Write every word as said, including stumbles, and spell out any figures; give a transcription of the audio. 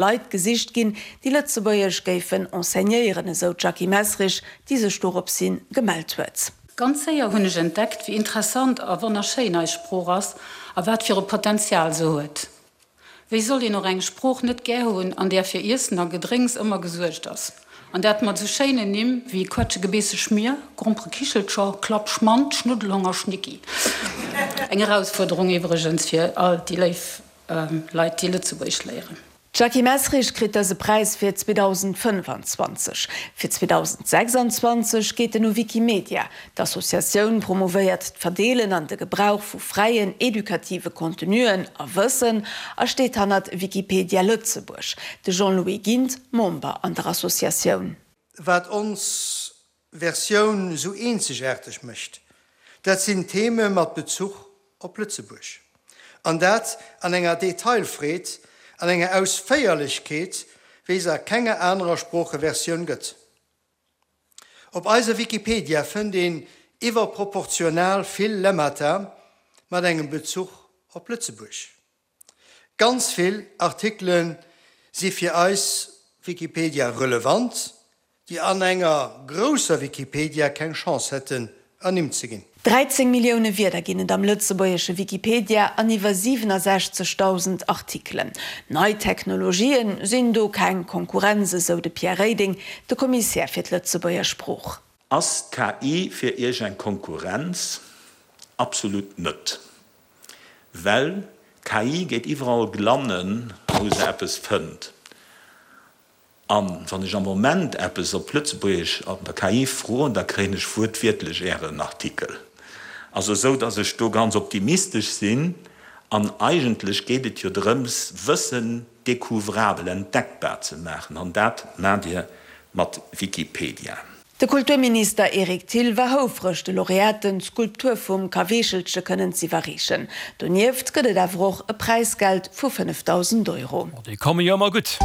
Leit gesicht ginn, déi Lëtzebuergesch géifen enseignéieren, esou d'Jackie Messerich, déi sech doropshi gemellt huet. Ganz séier hunn ech entdeckt, wéi interessant a wonnerschéin eis Sprooch ass a wat fir e Potenzial se huet. Wéi soll een och eng Sprooch net gär hunn, an där fir Iessen a Gedrénks ëmmer gesuergt ass? An dat mat esou schéinen Nimm wéi Quetschegebeesseschmier, Gromperekichelcher, Klapp, Schmand, Schnuddelhong a Schnicki. Eng Erausfuerderung iwwregens fir all déi léif Leit, déi Lëtzebuergesch léieren. D'Jackie Messerich kritt dëse Präis fir zweedausendfënnfanzwanzeg. Fir zweedausendsechsanzwanzeg geet en u Wikimedia. D'Associatioun promouvéiert d'Verdeelen an de Gebrauch vu fräien edukative Contenuen a Wëssen a steet hannert Wikipedia Lëtzebuerg. De Jean-Louis Gindt, Member an der Associatioun. Wat ons Versioun sou eenzegaarteg mécht, dat sinn Theme mat Bezuch op Lëtzebuerg. An dat an enger Detailfreed, an enger Ausféierlechkeet, wéi se a kenger anerer Sproocheversioun gëtt. Op eiser Wikipedia fënnt een iwwerproportional vill Lemmata mat engem Bezuch op Lëtzebuerg. Ganz vill Artikele si fir eis Wikipedia relevant, déi an enger grousser Wikipedia keng Chance hätten, ernimmt ze ginn. Dräizéng Millioune Wierder ginn et am lëtzebuergesche Wikipedia an iwwer siwenasechzegdausend Artikelen. Nei Technologien sinn do keng Konkurrenz, esou de Pierre Reding, de Kommissär fir d'Lëtzebuerger Sprooch. Ass d'K I fir Iech eng Konkurrenz? Absolut net. Well d'K I geet iwwerall glannen, wou se eppes fënnt. An wann ech am Moment eppes op Lëtzebuergesch an der K I froen, da kréien ech wuertwiertlech Ären Artikel. Also esou, dass ech do ganz optimistesch sinn. An eigentlech geet et jo drëms, Wëssen découvrabel, entdeckbar ze maachen. An dat maacht Dir mat Wikipedia. De Kulturminister Eric Thill war houfreg, de Laureaten d'Skulptur vum Kaweechelche kënnen z'iwwerreechen. Donieft gëtt et awer och e Präisgeld vu fënnefdausend Euro. Déi komme jo ëmmer gutt.